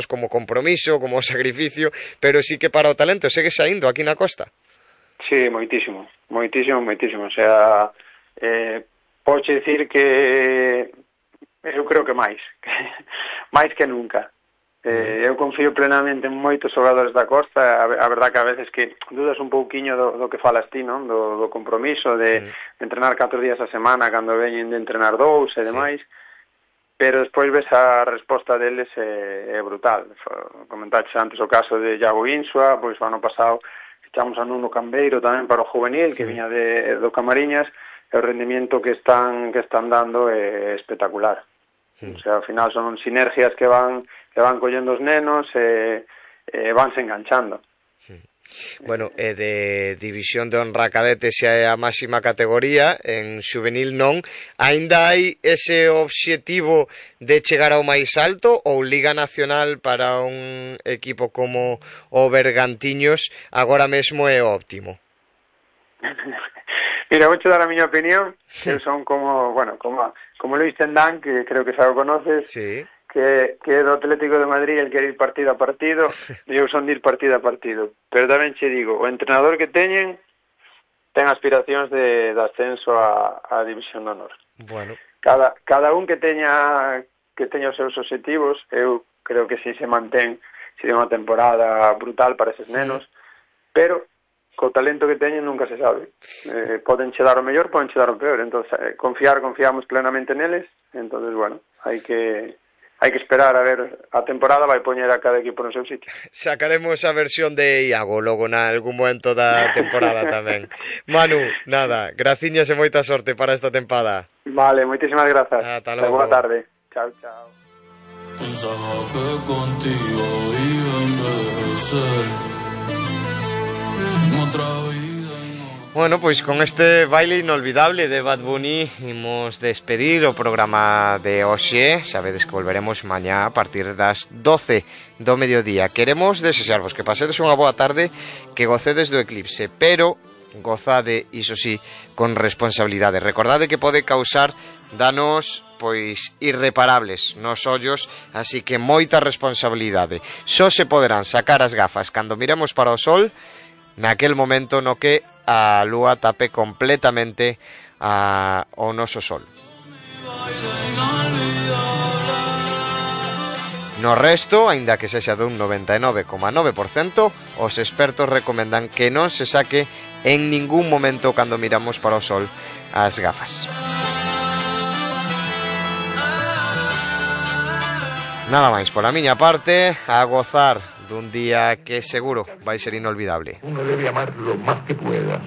como compromiso, como sacrificio, pero sí que para o talento segue saindo aquí na costa. Sí, moitísimo. O sea, podes dicir que eu creo que máis que nunca. Eu confío plenamente en moitos xogadores da costa. A verdad que a veces que dudas un pouquiño do que falas ti, non? Do compromiso de entrenar 4 días a semana cando veñen de entrenar 2 e demais. Pero despois ves a resposta deles é brutal. Comentaches antes o caso de Iago Insua, pois o ano pasado echamos a Nuno Cambeiro tamén para o juvenil, que viña do Camariñas, e o rendimiento que están dando é espectacular. O sea, ao final son sinergias que van collendo os nenos e vanse enganchando. Bueno, de división de honra cadete xa é a máxima categoría, en xuvenil non. Aínda hai ese obxectivo de chegar ao máis alto, ou Liga Nacional para un equipo como o Bergantiños agora mesmo é óptimo? Mira, vou dar a miña opinión. Eu son como Luis Tendán, que creo que xa o conoces. Sí. Que do Atlético de Madrid el quere ir partido a partido, e eu son de ir partido a partido. Pero tamén che digo, o entrenador que teñen ten aspiracións de ascenso a División de Honor. Bueno. Cada un que teña os seus obxectivos, eu creo que si se mantén, sería unha temporada brutal para eses nenos, pero co talento que teñen nunca se sabe. Poden che dar o mellor, poden che dar o peor. Entonces, confiamos plenamente neles. Entonces, bueno, hai que esperar a ver, a temporada vai poñer a cada equipo no seu sitio. Sacaremos a versión de Iago logo na algún momento da temporada tamén. Manu, nada, graciñas e moita sorte para esta tempada. Vale, moitísimas grazas. Ata logo. Boa tarde. Chao. Pensaba que contigo iba a envejecer en otra vida. Bueno, pois con este baile inolvidable de Bad Bunny imos despedir o programa de hoxe. Sabedes que volveremos mañá a partir das 12 do mediodía. Queremos desexarvos que pasedes unha boa tarde, que gocedes do eclipse, pero gozade, iso sí, con responsabilidade. Recordade que pode causar danos pois irreparables nos ollos, así que moita responsabilidade. Só se poderán sacar as gafas cando miremos para o sol naquel momento no que a lúa tape completamente o noso sol. No resto, aínda que sexa dun 99,9%, os expertos recomendan que non se saque en ningún momento cando miramos para o sol as gafas. Nada máis pola miña parte, a gozar dun día que seguro vai ser inolvidable. Uno debe amar lo más que pueda.